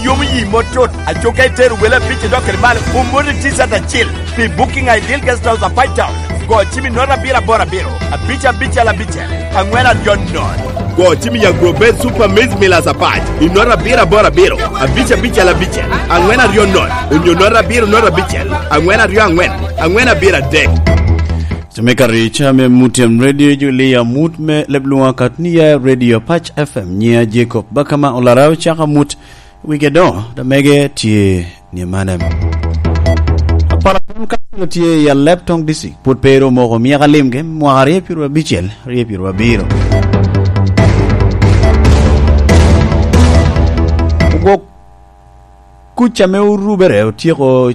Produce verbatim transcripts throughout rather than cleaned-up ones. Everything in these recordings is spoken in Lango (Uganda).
Yomo yi mot tut, aco ka itero wele abic i dok kede malo, omoti ticat acil pi Booking Ideal Guest House a Pine Town. Go cim i nota abiro aboro abiro, abic abicel abicel, angwen aryo nono. Go cim i Agro Base Super Maize Millers Apac i nota abiro aboro abiro, abic abicel abicel, angwen aryo nono, onyo nota abiro nota abicel, angwen aryo angwen, angwen abiro adek. Cemeka Richa me Mutem Radio Julia, mut me leb lwonga kat ni ya Radio Pac F M, nyiya Jacob Bakama Olarau, caka mut wige do, da mege tye ni manem. Apala Town Council tye i Alep Tong District, pwod pe ero omoko myaka limgi, mwaka aryo pyero abicel, aryo pyero abiro. Ogwok kuc ame orubere otyeko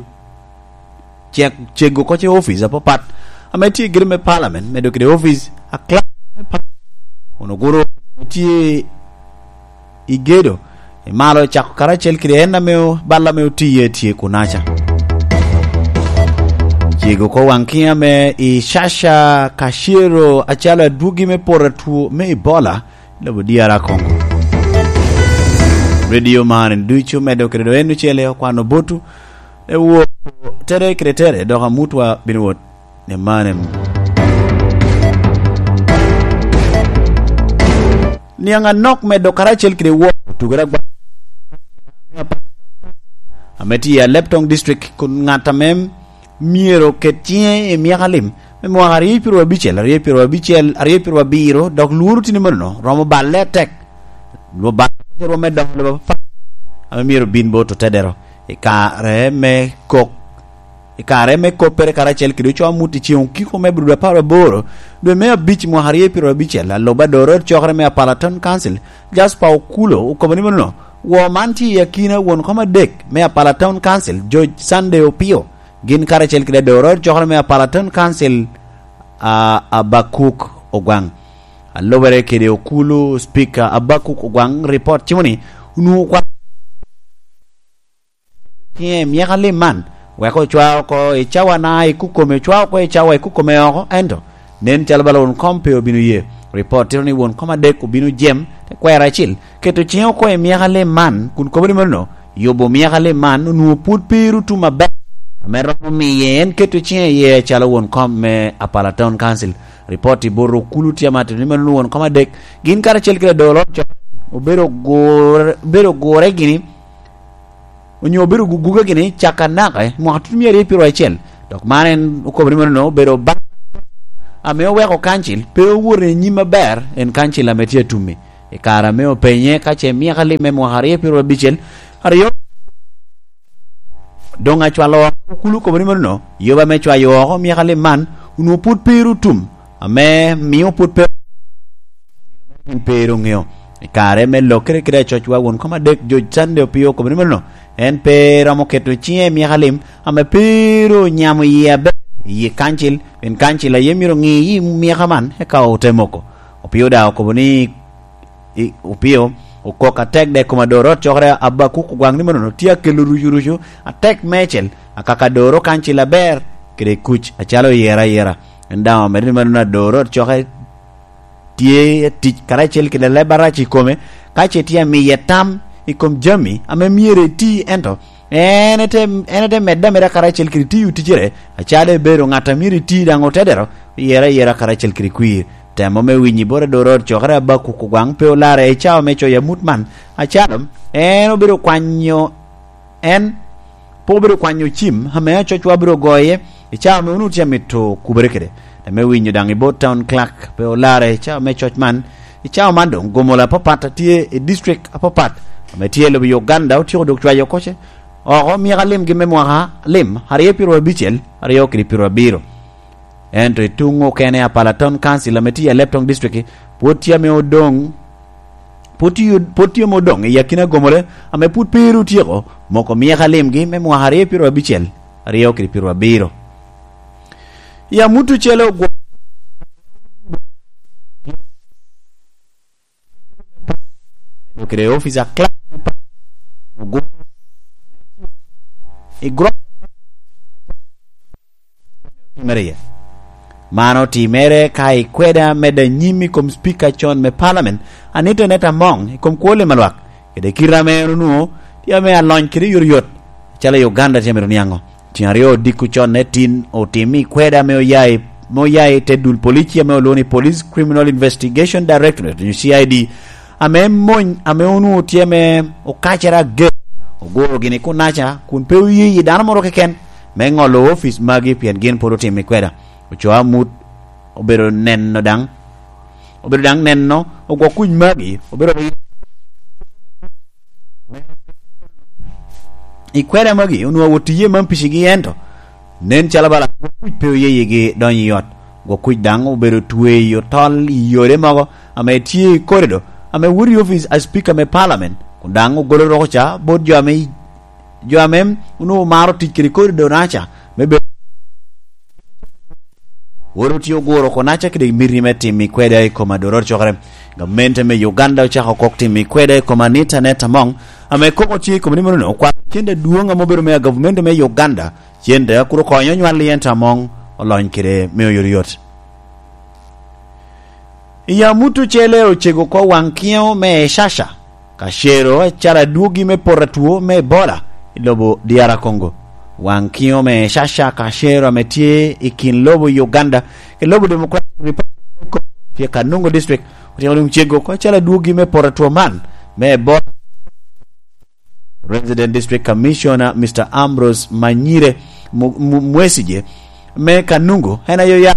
cek-, cego oko ce office apapat ame tye i gedo me Parliament, medo kede office a clerk me Parliament, kun oguro office ame tye i gedo i malo, cako karacel kede en ame o-, bal ame otiye tye kunaca. Cego oko waŋ kiŋ ame i Shasha Kashiro acalo adwogi me poto atwo me Ebola, lobo dyara Kongo. Radio man ducu medo kede do en ocele okwano botu, e wo tere kede tere, dok amutwa bino wot ni manem. Niaŋ anok medo karacel kede wo tugere agwa ame tye i Alep Tong District, kun ŋat ame myero oket ciŋe i myaka lim me mwaka aryo pyero abicel, aryo pyero abicel, aryo pyero abiro, dok lworo tini manono romo balle atek. Lwo balle rwom me dongo lobo apapat ame myero bin bot otedero i kare me kok, i kare me koppere karacel kede oco amut i ceŋ okiko me Abril apar aboro, dwe me abic mwaka aryo pyero abicel, aloba adoro cokere me Apala Town Council, Jasper Okulo, okobo ni manono, wo man tye i akina won kom adek me Apala Town Council, George Sunday Opio, gin karacel kede adoro cokere me Apala Town Council, a, Abakuk Ogwaŋ. A lubere kede okulu, Speaker Abakuk Ogwaŋ, report cimo ni onwoŋo kwa ciŋe i myaka lim man, wek ocwa oko i cawana i kukome, ocwa oko i cawa i kukome oko, ento nen calo bala won kom pe obino ye. Report tito ni won kom adek obino jem, te kwero acil, keto ciŋe oko i myaka lim man, kun kobo ni mano, yubo myaka lim man onwoŋo pwod pe ru tum aber, ame romo miye en keto ciŋe iye acalo won kom me Apala Town Council. Report i bot okulu tye amatitte ni mano onwoŋo won kom adek, gin karacel kede adolo co obedo gure, obedo gure gini, onyo obedo guguge gini caka naka i mwaka tutumia aryo pyero acel. Dok man en okobo ni mano obedo bal ame oweko kancil pe owoto i nyim aber, en kancil ame tye atumi. I kare ame openye ka ce myaka lim me mwaka aryo pyero abicel, aryo doŋ acwalo oko, okulu okobo ni mano, yoba me cwayo oko myaka lim man, onwoŋo pwod pe ru tum, ame mio pwod pe gin pe ru ŋeo. I kare me lokere kede acocwa won kom adek, George Sunday Opio okobo ni mano, en pe romo keto ciŋe i myaka lim, ame pe ru onyamo yie aber i yi kancil, pien kancil aye myero ŋi yi myaka man, eka ote moko. Opio daŋ okobo ni, i, Opio okok atek de kom adoro ot cokere Abakuk Ogwaŋ ni manono tye akelo rucurucu atek meicel, akaka adoro kancil aber kede kuc acalo oyera ayera. En daŋ omedo ni manono adoro ot cokere tye tic karacel kede leb arac i kome, ka ce tye amiye tam i kom jami ame myero eti, ento en ete, en ete medde ameda karacel kede tiyo ticere, acalo ebedo ŋat a myero eti daŋ otedero, yera yera karacel kede kwir. Temo me winyo i bot adoro ot cokere Abakuk Ogwaŋ pe olarre i cawa me coyo amut man, acalo en obedo kwanyo, en pe obedo kwanyo cim ame acocwa bino goye i cawa ame onwoŋo tye amito kubere kede. Temo me winyo daŋ i bot town clerk pe olarre i cawa me coc man, i cawa man doŋ gomola apapat a tye i district apapat ame tye i lobo Uganda otyeko dok cwayo oko ce oko myaka limgi me mwaka lim aryo pyero abicel, aryo kede pyero abiro. Ento i tuŋ okene, Apala Town Council ame tye i Alep Tong District pwod tye ame odoŋ, pwod tye, pwod tye ame odoŋ i akina gomole ame pwod pe ru otyeko moko myaka limgi me mwaka aryo pyero abicel, aryo kede pyero abiro. I amut ocele ogwo- kede officer clerk me pa-, i gro-, mere iye. Man otimere ka ikweda medde anyim i kom Speaker con me Parliament, Anita Aneta Among, i kom kwo lim a lwak, kede kite ame en onwoŋo Tye ame alony kede yoryot, calo i Uganda tye amito niaŋo. Tyen aryo odiko con ne tin otim i kwede ame oya i, ame oya i te dul polici ame olwoŋo ni Police Criminal Investigation Directorate, onyo C I D, ame mony, ame onwoŋo tye ame okacere ager, oguro gini kunaca, kun pe oye i dano moro keken me ŋolo ofic magi pien gin pwod otim i kweda. Ocoo amut obedo neno daŋ, obedo daŋ neno ogwok kuc magi, obedo i kweda magi, onwoŋo awot iye man picigi, ento nen calo bala gwok kuc pe oye yigi donyo i ot. Gwok kuc daŋ obedo tweyo tol i yore mogo ame tye i korido ame woto i ofic a Speaker me Parliament, kun daŋ ogolo roko ca bot jo ame, jo ame onwoŋo maro tic kede korido naca me bedo Woro tye oguro konaca kede miti me timo i kweda i kom adoror cokere. Gamente me Uganda ocako kok timo i kweda i kom Anita Netta Among, ame koko tye i kom ni mono okwalo cente adwoŋ ame obedo me gavumenti me Uganda, cente a kur okonyo nywal i ento Among olony kede me oyotoyot. I amut ocele ocego oko waŋ kiŋo me Eshasha, ka cero acara adwogi me poto atwo me Ebola i lobo D R Congo. Waŋ kiŋo me Eshasha ka cero ame tye i kin lobo Uganda ki lobo Democratic Republic me Congo tye ka nwoŋo district otyeko doŋ cego oko acara adwogi me poto atwo man me Ebola. Resident District Commissioner Mister Ambrose Manyire Mu-, Mu-, Mwesigye me Kanungu en ayo ya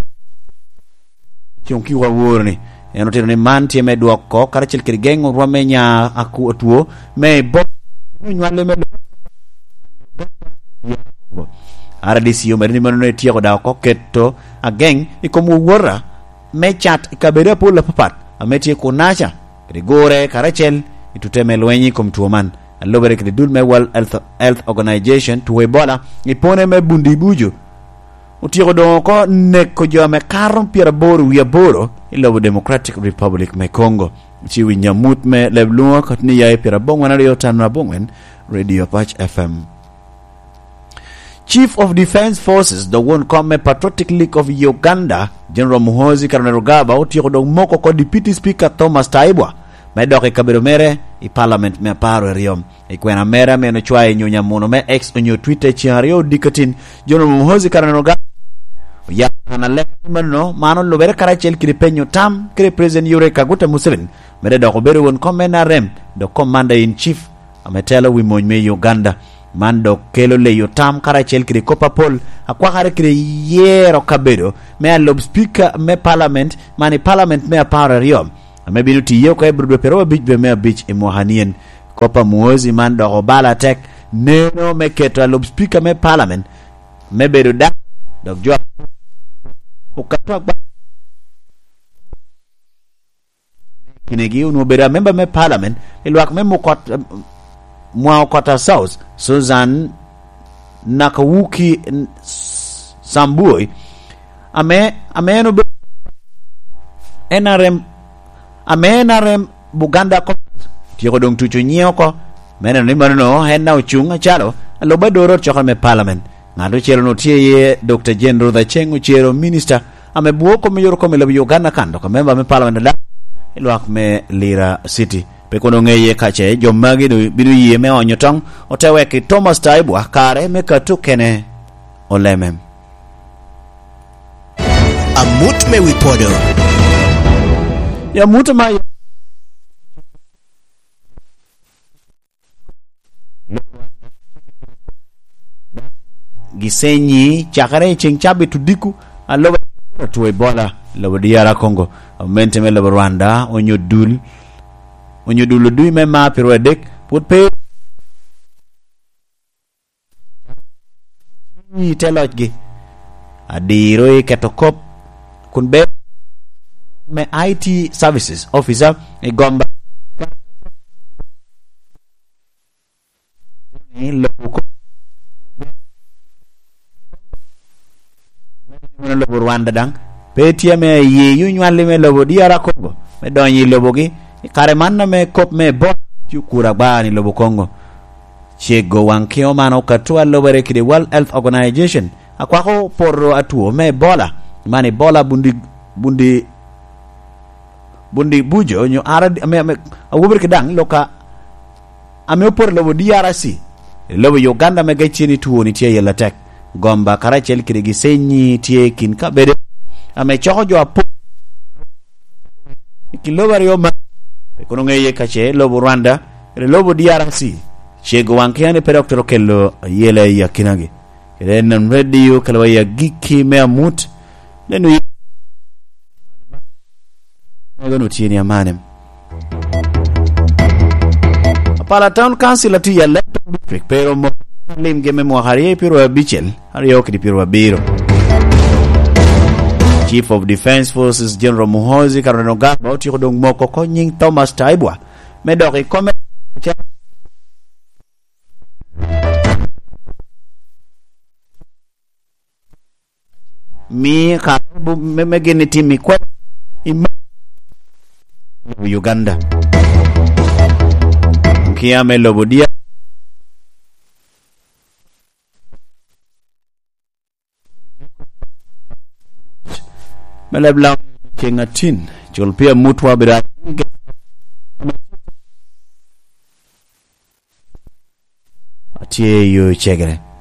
cuŋ ki waworo ni en otito ni man tye me dwoko karacel kede geŋo rwom me nya aku-, atwo me bo me nywale me R D C omedde ni mano etyeko daŋ oko keto ageŋ i kom wowota me cat i kabedo apol apapat ame tye kunaca kede gure karacel i tute me lweny i kom two man. Alubere kede dul me World Health, Health Organization, two Ebola i pone me Bundi Bujo otyeko doŋ oko neko jo ame kato pyeraboro wie aboro i lobo Democratic Republic me Congo. Ci winyo amut me leb lwoŋo kati ni ya i pyerabongwen aryo tano abongwen, Radio Pac F M. Chief of Defence Forces, dok won kom me Patriotic League of Uganda, General Muhoozi Kainerugaba, otyeko dok moko oko Deputy Speaker Thomas Tayebwa me dok i kabedo mere i Parliament me apar aryo. I kwena mere ame en ocwayo i nyunya muno me X onyo Twitter ceŋ aryo odiko atin, General Muhoozi Kainerugaba oyabo kan alek ni mano, man olubere karacel kede penyo tam kede President Yoweri Kaguta Museveni, mere dok obedo won kom me N R M, dok Commander in Chief ame telo wi mony me Uganda. Man dok kelo leyo tam karacel kede kop apol akwakare kede yero kabedo me alub Speaker me Parliament, man i Parliament me apar aryo, ame bino tiye oko i Abril dwe pyeraryo abic dwe me abic i mwaka nien. Kop a Muhoozi man dok obalo atek neno me keto alub Speaker me Parliament me bedo dano, dok jo okato agba kinegi onwoŋo bedo amemba me Parliament i lwak me Mukot-, Mwaokota South, Susan Nakawuki Sambui, ame, ame en obedo N R M, ame N R M Buganda Congress otyeko doŋ tuco nyiŋe oko, me neno ni manono en daŋ ocuŋ acalo alub adoro cokere me Parliament. Ŋat ocele-nu tye iye Doctor Jane Ruth Aceng Ocero, Minista ame bwoo kom me yore kom i lobo Uganda kan dok amemba me Parliament ada i lwak me Lira City. Pe kono ŋeye ka ce jo magi bino ye me onyo toŋ, ote wek i Thomas Tayebwa kare me kato kene oleme. Amut me wi podo. Ya mut ma gisenyi cakere i ceŋ cabit odiko, aloba atwo i bola, lobo D R Congo, amente me lobo Rwanda, onyo dul, onyo dul odui me mar pi rwe adek, pwod pe i te locgi. Adiro i keto kop, kun ber me I T services officer i Gomba. Ni lobo ko-, meno lobo Rwanda daŋ pe tye ame aye yo nywalli me lobo D R Congo me donyo i lobogi. I kare man ame kop me Ebola tye okuro agba ni lobo Congo, cego waŋ keo man okato alobere kede World Health Organization, akwako poto atwo me Ebola, man Ebola Bundi, Bundi, Bundi Bujo, onyo R D, ame, ame, awobere kede daŋ loka ame opoto i lobo D R C, i lobo Uganda ame gecci ni twoni tye aye atek. Gomba karacel kede gisenyi tye i kin kabedo ame coko jo apol i kin lobo aryo man. Pe kono ŋeye ka ce lobo Rwanda kede lobo D R C cego waŋ kea ni pe dok twero kelo ayela i akinagi. Kede en radio kelo wa i agikki me amut, neno yi-, mego nu tye ni amane. Apala Town Council atye i Alek Town District, pero mo limgi me mwaka aryo i pyero abicel, aryo kede pyero abiro. Chief of Defense Forces General Muhoozi Kainerugaba otyeko doŋ moko oko nyiŋ Thomas Taibuah me dok i kome. Mi ka bu-, me, me gin itim i kwel i ma-, Uganda. Kia me lobo dia. Me leb lam ceŋ atin, cul pi amutwa bira. Atye i yo cegere.